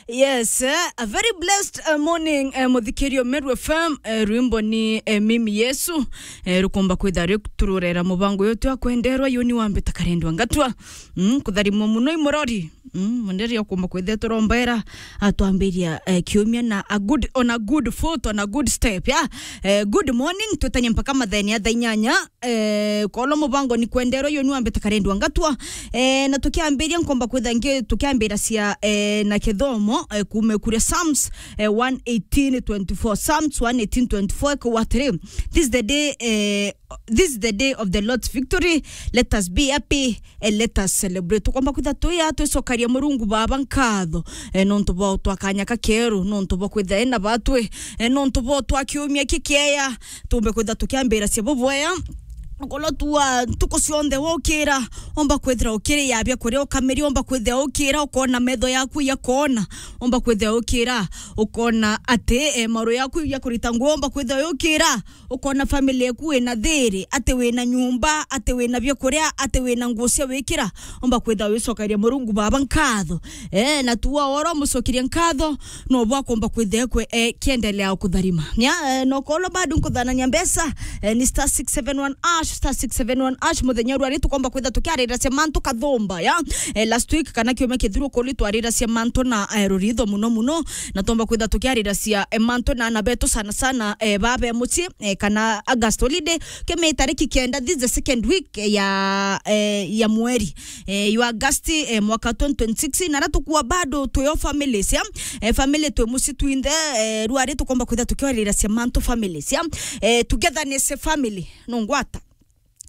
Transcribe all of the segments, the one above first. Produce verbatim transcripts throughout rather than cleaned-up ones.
Yes, eh, a very blessed, eh, morning, eh, muthikirio Meru F M, eh, rwimbo ni, eh, Mimi Yesu, eh, rukomba kwitha ritururera mubango uyu twa kwenderwa yuni wambita karendwa ngatwa. Mm, kutharimwa muno i murori. Mm, munderi ukomba kwitha turombera, atwambiria, eh, kiumia na a good, on a good foot, on a good step, yeah? Eh, good morning, twetanie mpaka matheni ya thaa inyanya, eh, kolo mubango ni kwenderwa yuni wambita karendwa ngatwa. Eh, na tukiambiria nkomba kwitha ngi, tukiambira cia, eh, na kithomo, eh, kume kuria Psalms, eh, one eighteen twenty-four. Psalms one eighteen twenty-four, kwa atiri, "This is the day, eh, this is the day of the Lord's victory. Let us be happy and let us celebrate." Tukomba kwitha tuya twicokaria Murungu Baba nkatho, eh, nontu bwa utwa kanya kakeru, nontu bwa kwitha ena batwi, eh, nontu bwa utwa kiumia kikieya, tumbe kwitha tukiambira cia bubwea. Kolo tua ntuku cionthe wokira, omba kwithira ukiri ya bia kuria ukamiria, omba kwithira ukira ukona metho yaku yakona, omba kwithira ukira ukona ati, eh, maru yaku ya kurita nguo, omba kwithira ukira ukona family yaku ina thiri, ati wina nyumba, ati wina bia kuria, ati wina nguo cia wikira, omba kwithira wicokeria Murungu Baba nkatho. Eh, na tua oro mucokeria nkatho, no bwa komba kwithira kwe, eh, kiendelea kutharima. Nya, eh, no kolo bado nkuthanania mbeca, eh, ni star six seven one hash, star six seven one hash, muthenya rwari tukomba kwitha tukiarira cia mantu kathumba, ya. Eh, last week kana kiumia kithiru kuli twarira cia mantu na, eh, ruritho muno muno, na tomba kwitha tukiarira cia, eh, mantu na ana betu sana sana, eh, babe mucii, eh, kana August holiday, kime tariki kenda, this is the second week ya, eh, ya mweri, eh, ya August, eh, mwaka twenty twenty-six, na ra tukua bado tuyo families, ya. Eh, family twi mucii twinthe, eh, rwari tukomba kwitha tukiarira cia mantu families, ya. Eh, togetherness family, no ngwata.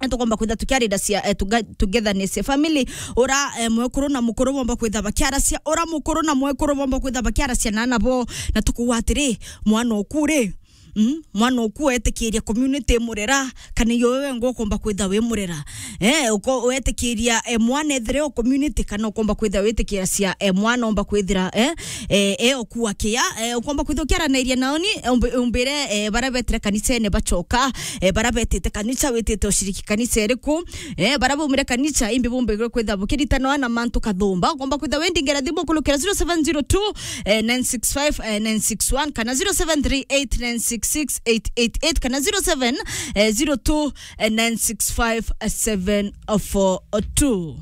Eh, tukomba kwitha tukiarira cia, eh, tuga-, togetherness family, ura, eh, mwekuru na mukuru bomba kwitha bakiaracia, ura mukuru na mwekuru bomba kwitha bakiaracia na ana bo, na tukuwa atiri, mwana oku ri, mm, mwana oku wetikiria community murera, kana iyo wewe ngo ukomba kwitha wi murera. Eh, uko-, wetikiria, eh, mwana ethire o community, kana ukomba kwitha witikiria cia, eh, mwana omba kwithira, eh, eh, eh, okua kia, eh, ukomba kwitha ukiaranairia naoni, eh, umbi-, umbire, eh, bara betire kanisene bachoka, eh, bara betite kanisa, witite ushiriki kanisa iriku, eh, bara baumire kanisa, imbi bumbigirwe kwitha bukiritana na mantu kathumba, ukomba kwitha wendingera thimu kulukira zero seven zero two, eh, nine six five, eh, nine six one, kana zero seven three eight nine six six eight eight eight, kana zero seven, eh, zero two, eh, nine six five, eh, seven four two.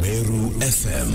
Meru F M.